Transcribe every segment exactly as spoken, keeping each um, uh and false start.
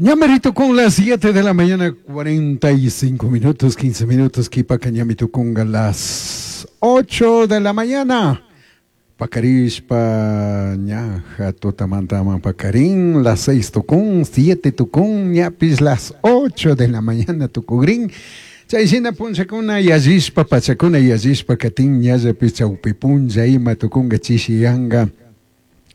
Ñamerito con las siete de la mañana, cuarenta y cinco minutos, quince minutos, q'uipaca ñami tucunga las ocho de la mañana. Pacarishpa ñaja tutamantaman pacarín, las seis tucun, siete tucun, ñapis las ocho de la mañana tucugrin. Chay shina punllakuna yallishpa, pachakuna yallishpa katin, ñallapi chawpi punlla ima tucunga, chishiyanga.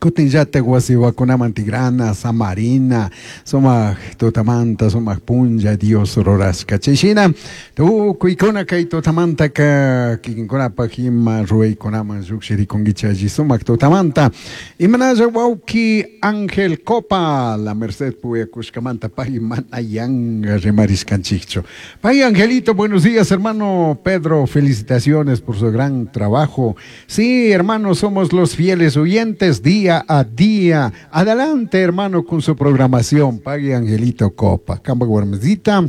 Kutinllatak wasiwakunaman tigrana, samarina, sumak tutamanta, sumak punlla Dios rurashka. Chay shina tukuykuna kay tutamantaka kikinkunapak ima ruwaykunaman llukshirikunkichik alli sumak tutamanta. Imanalla wawki Ángel Copa, La Merced puyakushkamanta pay mana yanga rimarishkanchikchu. Pay Angelito, buenos días, hermano Pedro, felicitaciones por su gran trabajo. Sí, hermano, somos los fieles oyentes día a día. Adelante, hermano, con su programación. Pague Angelito Copa. Kamba warmisita.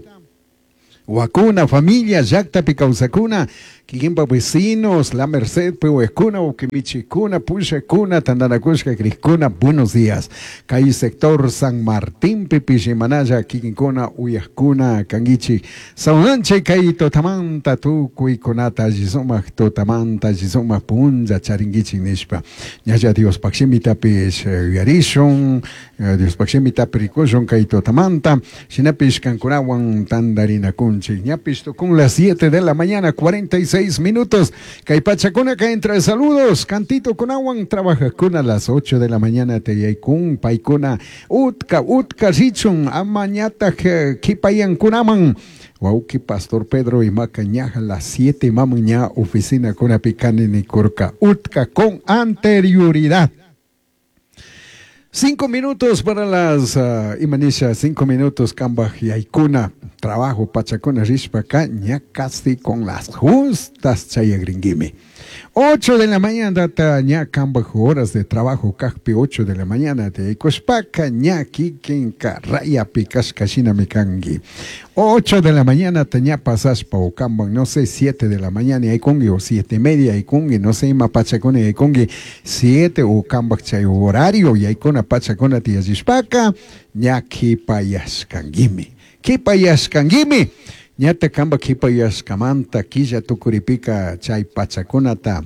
Wakuna, familia, llaktapi kawsakuna, kikinpa vecinos, La Merced, Pehuescuna, Uquimichicuna, Pushacuna, Tandanacushka, Criscuna, buenos días. Kay sector San Martín, Pipishimanaya, Kikinkuna, Uyascuna, Kanguichi, Saunanche, Kay Totamanta, Tukuikunata, Jisumak, Totamanta, Jisumak, Punja, Charinguichi, Nishpa. Ñalla Diospaj shimitapish, Yarishun, Diospaj shimitapi rikushun, Kay Totamanta, Shinapish Kankunawan, Tandarina Kunchi, Ñapish con las siete de la mañana, cuarenta y seis minutos. Kay pachakuna que entra saludos. Cantito kunawan trabaja kuna las ocho de la mañana te yaikun paikuna utka utka richun amañata kipayan kunaman. Wauki Pastor Pedro y Macañaja las siete mamuña oficina kuna picani ni kurka utka con anterioridad. Cinco minutos para las uh, imanisha, cinco minutos kambaj yaikuna, trabajo pachakuna rishpaka, ña casi con las justas chayagringuimi. Ocho de la mañana, ta ña kambaj horas de trabajo, kajpi ocho de la mañana, te ikushpaka, ña kikinka, raya pikashka shina mikangi. Ocho de la mañana, te ña pasashpa o kambaj, no sé, siete de la mañana, yaikungi, o siete y media, yaikungi, no sé, ima pachakuna yaikungi, siete o kambaj chay horario, yaikuna pachakuna tiyashpaka, ña kipayashkangimi. Kipayashkangimi. Ñata kamba kipayashkamanta, killa tukuripika chay pachakunata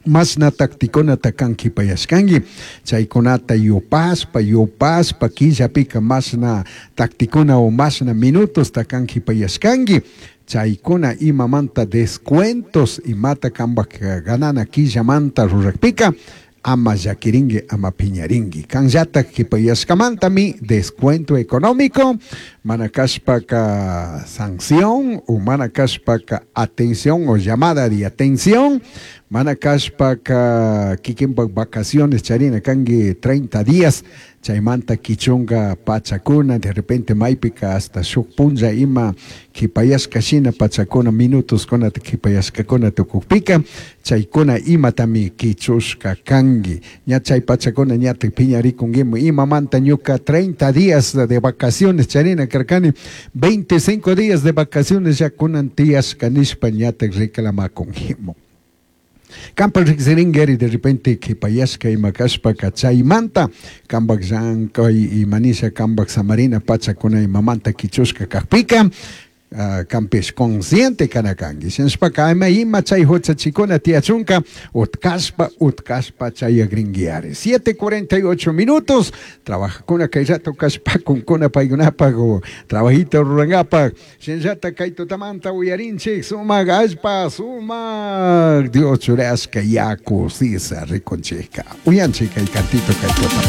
masna taktikunata kan kipayashkangi chaykunata yupashpa yupashpa killapika masna taktikuna o masna minutos ta kan kipayashkangi chaykuna imamanta descuentos imata kamba ganana killamanta rurakpika ama llakiringi, ama piñaringi. Kanllata kipayashkamantami descuento económico, mana kashpaka sanción o mana kashpaka atención o llamada de atención, mana kashpaka kikinpak vacaciones charina kangi treinta días, chaymanta kichunga pachakuna, de repente maypika hasta shuk punlla ima kipayashka shina pachakuna minutos kuna kipayashkakuna tukukpika, chaykuna imatami kichushka kangi. Ña chay pachakuna ñata piñarikunguimu imamanta ñuka treinta días de vacaciones charina karkani, veinticinco días de vacaciones ya kunan tiyashka nishpa ñata reclamakunguimu. Kampa riksiringeri de repente kipayashka ima kashpaka chaymanta kambak llankay imanisha kambak samarina pachakuna imamanta kichushka kakpika uh, kampish consciente kana kanki. Shinashpaka ama ima chay huchachikuna tiyachunka utkashpa utkashpa chayagringuiari. siete cuarenta y ocho minutos. Trabajakuna kay rato kashpakunkuna paykunapak o trabajito rurangapak. Shinallata kay tutamanta uyarinchik sumak allpa, sumak Dios churashka yaku sisa rikunchikka. Uyanchik kay cantito kay tutamanta.